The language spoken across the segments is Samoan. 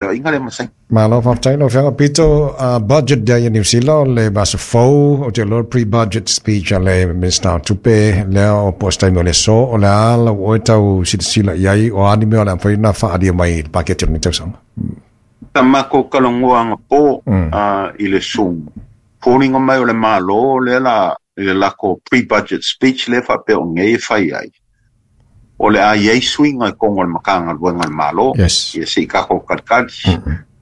Feoaiga lea ma Saini. Malo faafetai lau Afioga Pito. Budget Day i Niu Sila o le vaiaso fou, ou te iloa pre-budget speech a le Minisita o Tupe lea o po o se taimi o le aso. O le a lau oe tau silasila i ai, o a ni mea o le a mafai ona faaalia mai i le paketi o lenei tausaga? Sa matou talanoa anapo i le Zoom, foliga mai o le Malo lea la i le latou pre-budget speech lea faapea o nei e fai ai. O le a i ai suiga i totonu o le Matagaluega a le Malo, Yes. Ia se i tatou talitali.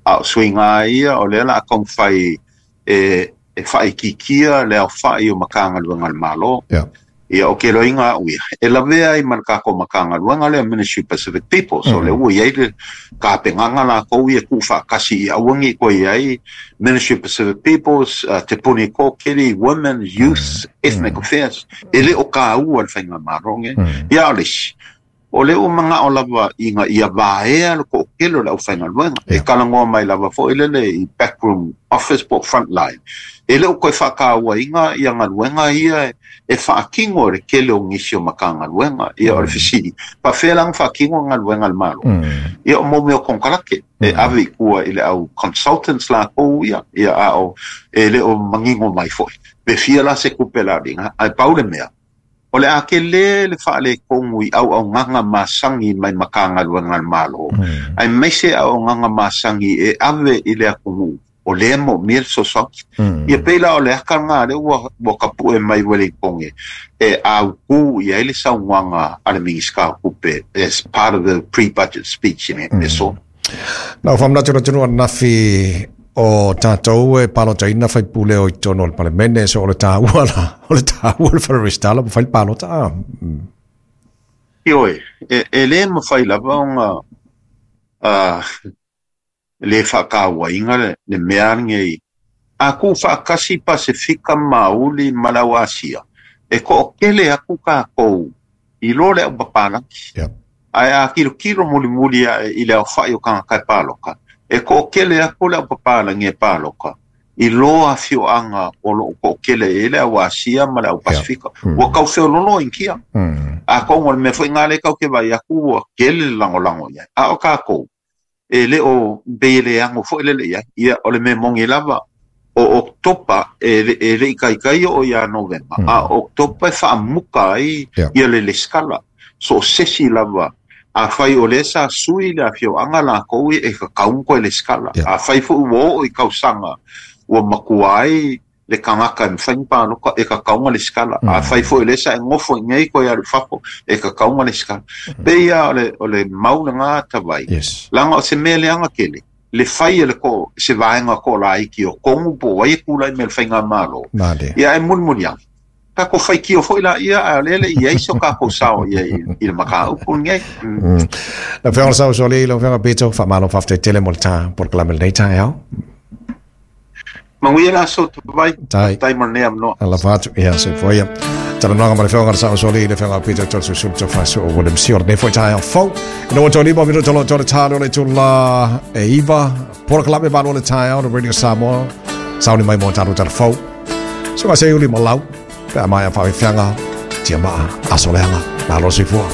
A o suiga lava ia, o lea o le a taumafai e, e faaitiitia le aofai o Matagaluega a le Malo. Yeah. Ia, o ke loiga au ia, e lavea ai ma le tatou Matagaluega lea, Ministry of Pacific Peoples, o lea ua i ai le tapenaga latou ia tuufaatasi ia aua ne i toe i ai Ministry of Pacific Peoples, Te Puni Kōkiri, Women, Youth, Ethnic Affairs, e le o taua le faigamalo lenei. Ia a o le isi, o lea ua manao lava ina ia vaea le toatele o le aufaigaluega. E talanoa mai lava foi lele i backroom office po o front line. E le o toe faatauaina ia galuega ia e faatino e le tele o nisi o Matagaluega. Ia o le fesili, faapefea la ona faatino galuega a le Malo? Ia o mo mea o konekarate e ave i tua i le au consultants latou ia, ia a o e le o manino mai foi pe fia la se tupe la liga, ae pau le mea, o le a tele le faaletonu i auaunaga masani mai Matagaluega a le Malo, aemaise auaunaga masani e ave i le atunuu o lea e moomia le fesoasoani. Ia pei la o le aka lena lea ua ua tapue mai Ueligitone e autu i ai le saunoaga a le Minisita o Tupe as part of the pre-budget speech i le aso. Na ou faamanatu i le atunuu ananafi o tatou e palotaina faipule o i totonu o le Palemene, so o le taua la, o le taua o le fale resitala ma fai le palota. Ah. Ioe, e le mafai lava ona le faatauaina le mea lenei. A tuufaatasi Pasefika Maoli ma le au Asia, e toatele atu tatou i lo le au papalagi. Yep. Ae a tilotilo mulimuli ae i le aofai o tagata e palota, e toatele atu le au papalagi e palota i lo afioaga o lo o toatele i ai le au Asia ma le au Pasefika. Yeah. Ua tau feololo Initia. Atonu o le mea foi lena lea tatou te vaai atu ua tele le lagolago i ai. A o tatou, e le o pei e le ano foi lele i ai. Ia, o le mea moni lava, o Oketopa e, e le i taitai oo ia Novema, a o Oketopa e faamuta ai Yeah. ia le lesitala. So o se isi lava, afai o lea sa sui le afioaga latou ia e tatau ona toe lesitala. Yeah. Afai foi ua oo i tausaga ua matua ai le tagata e mafai ona palota, e tatau ona lesitala. Afai foi o lea sa e nofo i inei toe alu i fafo, e tatau ona lesitala. Pei lava o le, o le mau lena Tavai, Yes. leaga o se mea leaga tele, le fai e le ko, se vaega toalaiti o Kogu po o ai e tulai mai i le faigamalo, Male. ia ae mulimuli ane, tatou faitio foi laia, ae o lea e le i i ai so tatou sao i ai i le mataupu lenei. Lau Afioga i le Saosoalii, lau Afioga Pito, faamalo faafetai tele mo le ta polokalame i lenei taeao. Manuia le aso Tavai. Tai. Tai mo lenei avanoa. Alofa atu, ia, soifua ia. Talanoaga ma le Afioga i le Saosoalii, le Afioga Peter Tolesusulu Tofasu o William Sio, lenei foi taeao fou. Ina ua tolima minuta loa tole talo le itula e 9, polokalame malo le taeao le Radio Samoa, sauni mai mo talo tala fou. Suka se uli ma lau, pe a mai a whawhiwhianga, tia maa, aso leanga, malo soifua.